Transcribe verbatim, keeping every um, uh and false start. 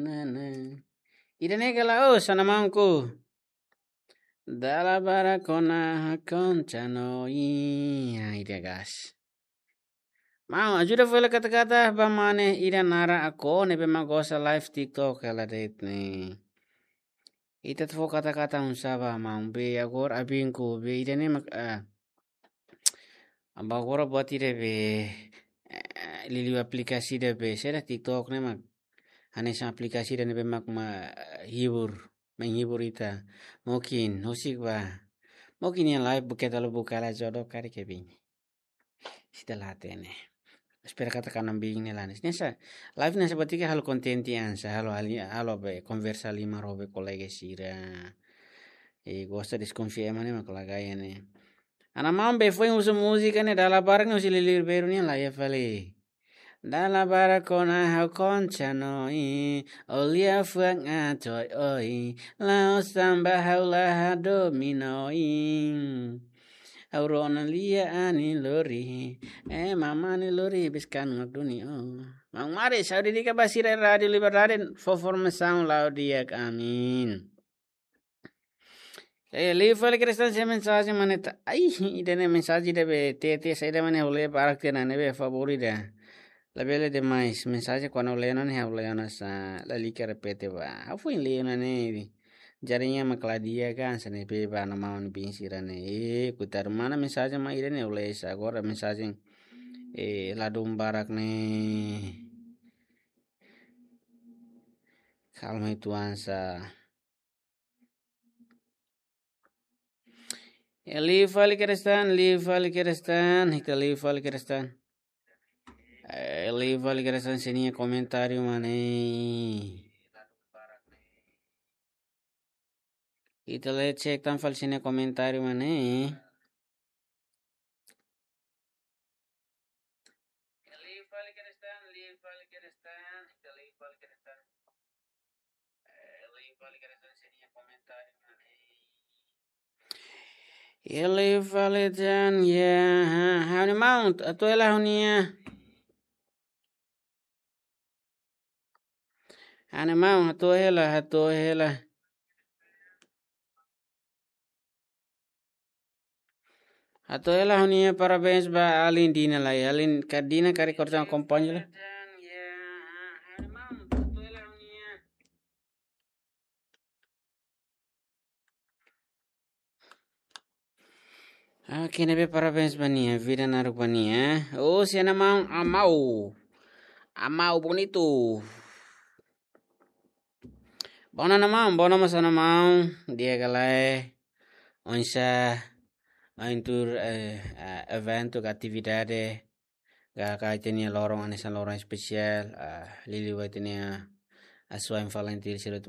Nana. Ida-ne'e kala, oh, sana mangku. Dala barak ona ha'u konta no i. Ah, ida gas. Maun, ajuda fó hela kata-kata ba mane ida naran Ako ne'ebé mak gosta live TikTok hela de'it ne'e. Ita atu fó kata-kata oinsá ba maun be agora abinku be ida-ne'e mak, ah, ba agora buat ida be, eh, liuliu aplikasi ida be, saida TikTok ne'e mak. Hanesan aplikasi ida ne'ebé mak ma, hibur, menghibur ita. Mungkin, husik ba. Mungkin iha live buka talo buka la jodoh kari ke bini. Sita la hatene. Espera katak kanambing ne'e la hanesan. Ne'e sa, live ne'e sa batik halo konten tiha hanesan, halo ali, halo be, konversa liman ho be kolega sira. E gosta deskonfia ema ne'e mak lagai ne'e. Ana maun be foin husu múzika ne'e dala barak ne'e husi liuliu Ribeiro nian la iha fali. Dala barak ona ha'u konta no i, o liafuan atu oi, la'ós tanba ha'u la hadomi no i. Ha'u rona lia anin lori, eh, mamani lori biskan ngaduni o. Maun Mari, saúde di'ak ba sira Rádiu Liberdade, fó formasaun la'o di'ak, amin. Eh, liu fali Kristan, se mensajen mane ta. Ai, ida-ne'e mensajen ida be T T saida mane ha'u lee barak tiha ona ne'ebé favór ida. Labele demais, mensajen kuandu lee ona ne'e ha'u lee ona sa, lalika repete ba. Ha'u foin lee ona ne'e. Jaringan mak la di'ak ka, hanesan ne'ebé ba ana maun bin sira ne'e. Eh, kutar mana mensajen mak ida-ne'e ha'u lee sa agora mensajen, eh, ladún barak ne'e. Kalma itu ansa. Eh, liu fali Kristan, liu fali Kristan, ita liu fali Kristan. Eh, liu fali Kristan sira-nia komentáriu mane. Ita lee cek tan fali sira-nia komentáriu mane. Ele fale tan ya, ha, ha'u-nia maun, atu hela ha'u-nia. Ha'u-nia maun, atu hela, atu hela. Atu hela ha'u-nia parabéns ba alin Dina lai. Alin ka Dina kari kortan akompaña lai. Oke, ne'ebé parabéns ba nia, vida naruk ba nia. Oh, si ana maun, amau. Amau bonitu. Bom dia, maun, bom dia, maun, di'ak ka lae. Oinsá, ohin tuur, eh, eh, eventu ka atividade, ka, ka ita-nia loron, hanesan loron espesiál, ah, liuliu ba ita-nia asuwa'in Falintil sira atu